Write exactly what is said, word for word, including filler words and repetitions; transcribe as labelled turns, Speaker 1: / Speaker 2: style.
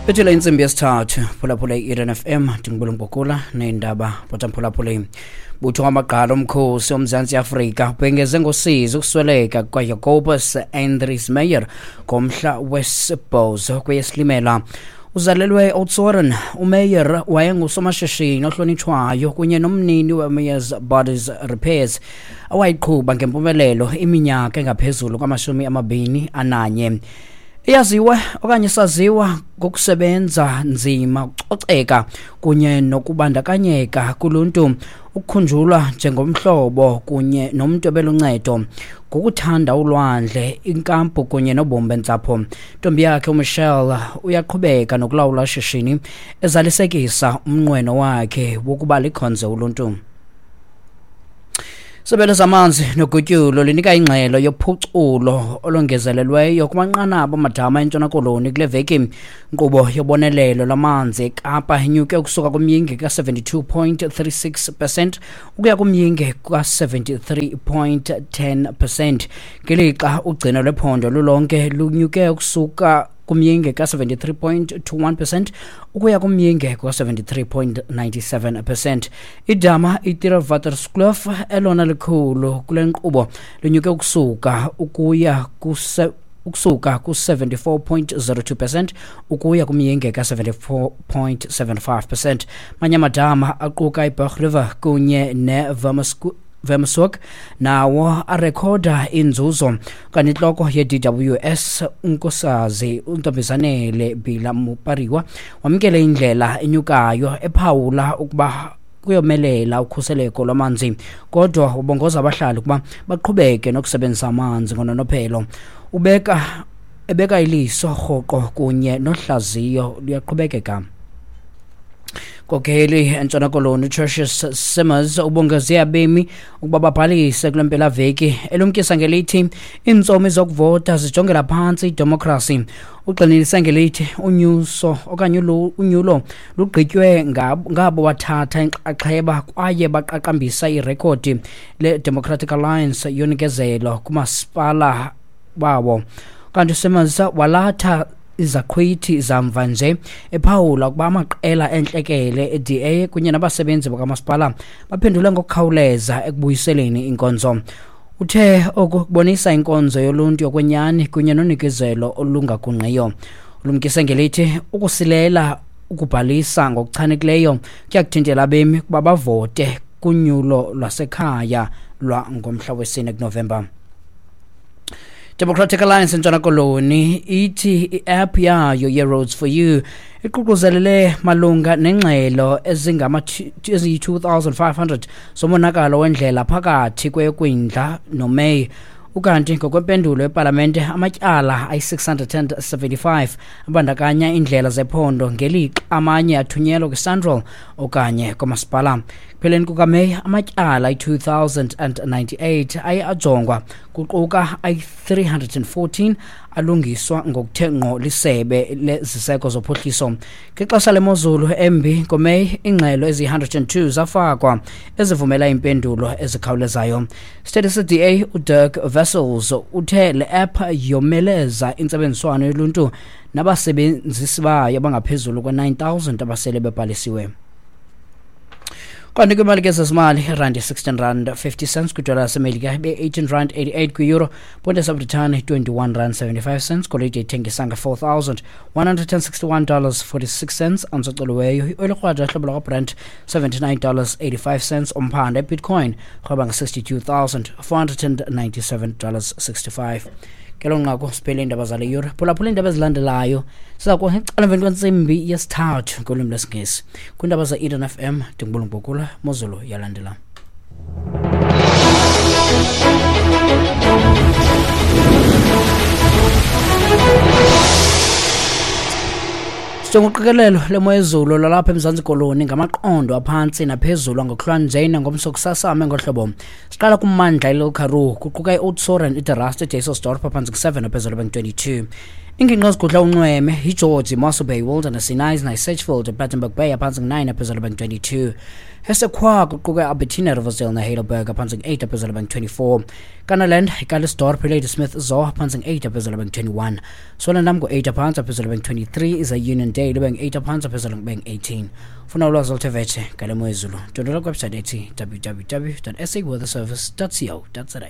Speaker 1: Bethela intsimbi yesithathu, phulaphula i-Eden F M, ndingubulungokula neendaba bothamphulaphuleni. Butho wamagqala omkhosi oMzantsi Afrika ubhengeze ngosizi ukusweleka kukaJacobus Andries Meyer ngomhla wesibhozo kweyeSilimela. Uzalelwe eOudtshoorn, uMeyer wayengusomashishini ohlonitshwayo kunye nomnini weMeyer's Bodies Repairs awayiqhuba ngempumelelo iminyaka engaphezulu kwamashumi amabini ananye. Iyaziwa okanye saziwa ngokusebenza nzima, ukucoceka kunye nokubandakanyeka kuluntu, ukukhunjulwa njengomhlobo kunye nomntu obeluncedo, ngokuthanda ulwandle, inkampu kunye nobomi bentsapho. Ntombi yakhe uMichelle uyaqhubeka nokulawula ishishini, ezalisekisa umnqweno wakhe wokuba likhonze uluntu. Isebe lezamanzi nogutyulo linika ingxelo yophuculo olongezelelweyo kumanqanaba amadama eNtshona Koloni kule veki. Inkqubo yobonelelo lwamanzi eKapa inyuke ukusuka kumyinge ka-seventy-two point three six percent ukuya kumyinge ka-seventy-three point ten percent, ngelixa ugcino lwephondo lulonke lunyuke ukusuka kumyinge ka-seventy-three point two one percent ukuya kumyinge ka-seventy-three point nine seven percent. Idama iTierwaterskloof elona likhulu kule nkqubo linyuke ukusuka ukuya kuse ukusuka ku-seventy-four point zero two percent ukuya kumyinge ka-seventy-four point seven five percent. Manye amadama aquka iBerg River kunye neVermersku Vermershoek nawo arekhoda inzuzo. Kanti intloko ye-D W S uNkosazi uNtombizanele Bila Mupariwa wamkele indlela enyukayo ephawula ukuba kuyomelela ukhuseleko lwamanzi, kodwa ubongoza abahlali ukuba baqhubeke nokusebenzisa amanzi ngononophelo. Ubeka ebeka iliso rhoqo kunye nohlaziyo luyaqhubekeka. Nkokheli eNtshona Koloni uTertuis Simmers ubongeze abemi ukuba babhalise kule mpelaveki, elumkisa ngelithi iintsomi zokuvota zijongela phantsi idemokhrasi. Ugxininise ngelithi unyuso okanye unyulo lugqitywe ngabo bathatha inxaxheba kwaye baqaqambisa irekhodi le-Democratic Alliance yonikezelo kumasipala bawo. Kanti uSimmers walatha izaqhwithi zamva nje, ephawula ukuba amaqela entlekele e-D A kunye nabasebenzi bakamasipala baphendule ngokukhawuleza ekubuyiseleni inkonzo. Uthe oku kubonisa inkonzo yoluntu yokwenyani kunye nonikezelo olungagungqiyo. Ulumkise ngelithi ukusilela ukubhalisa ngokuchanekileyo kuyakuthintela abemi ukuba bavote kunyulo lwasekhaya lwangomhla wesine kuNovemba. Democratic Alliance eNtshona Koloni ithi i-app yayo ye-Roads for You iququzelele malunga nengxelo eziyi-two thousand five hundred zomonakalo wendlela phakathi kweyoKwindla noMeyi. Ukanti ngokwempendulo yepalamente amatyala ayi-six hundred and seventy-five abandakanya iindlela zephondo, ngelixa amanye athunyelwa kwiSANRAL okanye kwamasipala. Ekupheleni kukaMeyi amatyala ayi-two thousand and ninety-eight aye ajongwa, kuquka ayi-three hundred and fourteen alungiswa ngokuthe ngqo lisebe leziseko zophuhliso. Ngexesha lemozulu embi ngoMeyi, iingxelo eziyi-one hundred and two zafakwa ezivumela iimpendulo ezikhawulezayo. Isithethi se-D A uDirk Wessels uthe le app yomeleza intsebenziswano yoluntu nabasebenzisi bayo abangaphezulu kwe-nine thousand abasele bebhalisiwe. Kanti kwimali ke zezimali, irandi sixteen rand fifty cents kwidola yaseMelika, ibe-eighteen rand eighty-eight kwi-euro, ponde yaseBritane twenty-one rand seventy-five cents, golide ithengisa nge-four thousand one hundred and sixty-one dollars forty-six cents, antsocoliweyo ioyile krwada hlobo lwakwaBrent seventy-nine dollars eighty-five cents, umphanda eBitcoin rhweba nge-sixty-two thousand four hundred and ninety-seven dollars sixty-five. Ngelo nqaku siphele iindaba zale yure. Phulaphula iindaba ezilandelayo siza kuba ngecala emveni kwentsimbi yesithathu ngolwimi lwesiNgesi. Kwiindaba ze-Eden F M ndingubulungokula Mozulu yalandela. Sijonga uqikelelo lemo yezulu lwalapha eMzantsi Koloni ngamaqondo aphantsi naphezulu angokuhlwanje nangomso kusasa ame ngohlobo. Siqala kummandla iLittle Karoo kuquka iOudtshoorn, iDe Rust, iDysselsdorp aphantsi ku-seven naphezulu bengu-twenty-two. Iingingqi ezigudla unxweme yiGeorge, Mossel Bay, Wilderness, iKnysna, iSedgefield, iPlettenberg Bay aphantsi ngu-nine aphezulu bengu-twenty-two. Esekhwa kuquka iAlbertina, Riversdale neHeidelberg aphantsi ngu-eight aphezulu bengu-twenty-four. Kannaland, iCalitzdorp, iLadysmith zo aphantsi ngu-eight aphezulu bengu-twenty-one. Swellendam ngu-eight aphantsi aphezulu bengu-twenty-three, ize Uniondale ibe ngu-eight aphantsi aphezulu bengu-eighteen. Funa ulwazi oluthe vetshe ngale mo yezulu, ndwendwela kwiwebsite ethi w w w dot s a weather service dot co dot za.